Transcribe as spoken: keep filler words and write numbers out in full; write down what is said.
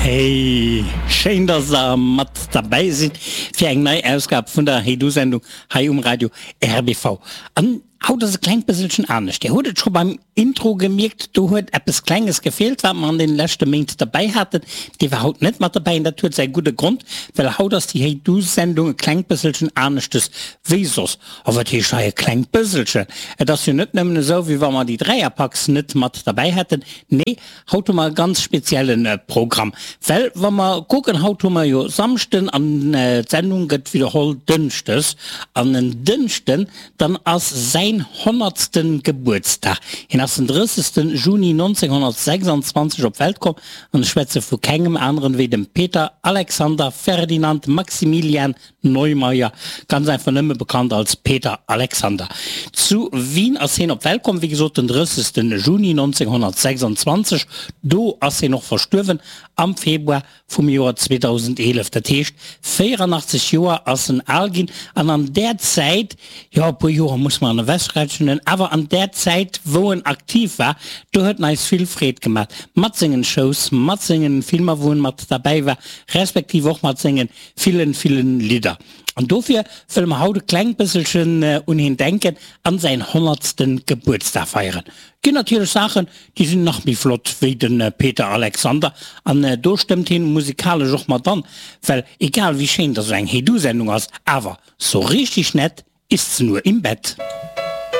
Hey, schéin dass der mat derbäi sidd fir eng nei Ausgab vun der Hey Du Sendung hei um Radio R B V. An haut ass e klengt bësselchen anescht. Dir hutt et scho beim Intro gemierkt, do huet eppes Klenges gefeelt, wat mer an den leschte Méint derbäi haten. Dee war haut net mat derbäi an dat huet säi gudde Grond, well haut ass déi Hey Du Sendung e klengt bësselchen aneschtes wéi soss. A wat heescht hei e klengt bësselchen? Et ass jo net nëmmen esou, wéi wa mer déi Dräierpacks net mat derbäi hätten. Nee, haut hu mer e ganz spezielle Programm. Well wa mer kucken, haut hu mer jo Samschden an d'Sendung gëtt widderholl dënschdes. An en Dënschden, dann ass säin honnertste Gebuertsdag. Hien ass den drëssegste Juni nonzénghonnertsechsanzwanzeg op d'Welt komm an ech schwätze vu kengem aneren wéi dem Peter Alexander Ferdinand Maximilian Neumayr, ganz einfach nëmme bekannt als Peter Alexander. Zu Wien ass hien op d'Welt komm, wéi gesot den drëssegste Juni nonzénghonnertsechsanzwanzeg. Do ass hien och verstuerwen am Februar vum Joer zweedausendeelef. Dat heescht véieranaachtzeg Joer ass en al ginn an an där Zäit, jo e puer Joer muss mer an ewechrechnen, awer an där Zäit wou en aktiv war, do huet en eis vill Freed gemaat mat sengen Shows, mat sengen Filmer wou en mat derbäi war, respektiv och mat sengen villen, villen Lidder. An dofir wëlle mer haut e klengt bësselchen un hien denken an säin honnertsten Gebuertsdag feieren. Ginn natierlech Saachen, déi sinn nach méi flott wéi de Peter Alexander an do stëmmt hien musikalesch och mat an, well egal wéi schéin dass esou eng Hey Du Sendung ass, awer sou richtig nett ist's nur im Bett.